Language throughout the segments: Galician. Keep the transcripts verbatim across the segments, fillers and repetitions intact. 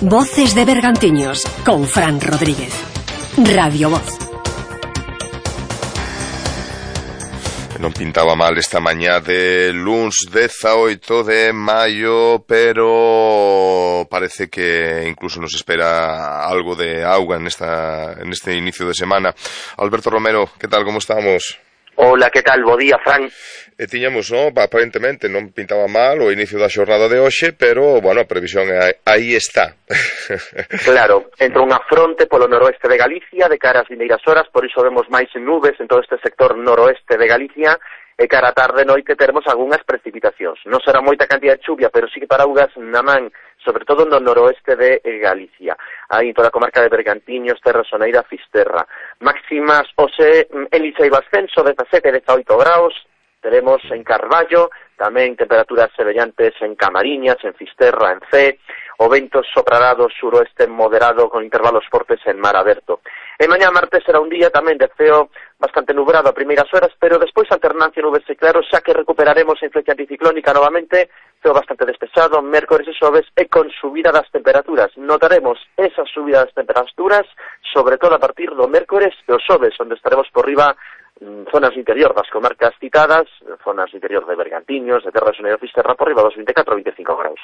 Voces de Bergantiños con Fran Rodríguez. Radio Voz. Non pintaba mal esta mañá de luns dezaoito de maio, pero parece que incluso nos espera algo de auga en esta en este inicio de semana. Alberto Romero, que tal, como estamos? Hola, que tal? Bo día, Fran. E tiñamos, non, aparentemente non pintaba mal o inicio da xornada de hoxe, pero, bueno, a previsión é, aí está. Claro, entra unha fronte polo noroeste de Galicia de cara ás vindeiras horas, por iso vemos máis nubes en todo este sector noroeste de Galicia, e cara a tarde noite teremos algunhas precipitacións. Non será moita cantidad de chuvia, pero sí que paraugas na man, sobre todo no noroeste de Galicia. Aí en toda a comarca de Bergantiños, Terra Soneira, Fisterra. Máximas, hoxe, en Licei ascenso, dezasete a dezaoito graus, teremos en Carballo, tamén temperaturas semellantes en Camariñas, en Fisterra, en Cee, o vento soprará do suroeste moderado con intervalos fortes en mar aberto. E mañá martes será un día tamén de ceo bastante nublado a primeiras horas, pero despois alternancia nubes e claros, xa que recuperaremos a influencia anticiclónica novamente, ceo bastante despexado, mércores e xoves, e con subida das temperaturas. Notaremos esa subida das temperaturas, sobre todo a partir do mércores e o xoves, onde estaremos por riba zonas interior das comarcas citadas, zonas interior de Bergantiños, de Terra Soneira, Fisterra, por riba dos veinticuatro a veinticinco graus.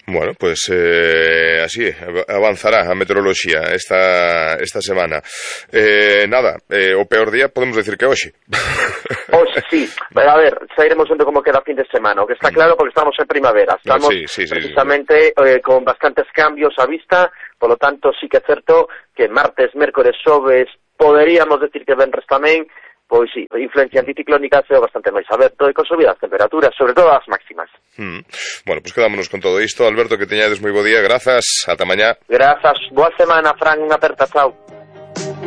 Bueno, pues eh, así avanzará a meteoroloxía esta esta semana. Eh, nada, eh, o peor día podemos decir que hoxe. Hoxe, sí. A ver, sairemos vendo como queda fin de semana, o que está claro porque estamos en primavera. Estamos sí, sí, sí, precisamente sí, sí. Eh, con bastantes cambios a vista, polo tanto sí que é certo que martes, mércores, xoves, poderíamos decir que venres tamén. Pois sí, influencia anticiclónica é bastante máis aberto e con subidas temperaturas, sobre todo as máximas. Mm. Bueno, pois pues quedámonos con todo isto. Alberto, que teñades moi bo día, grazas, ata mañá. Grazas, boa semana, Fran, unha aperta, chao.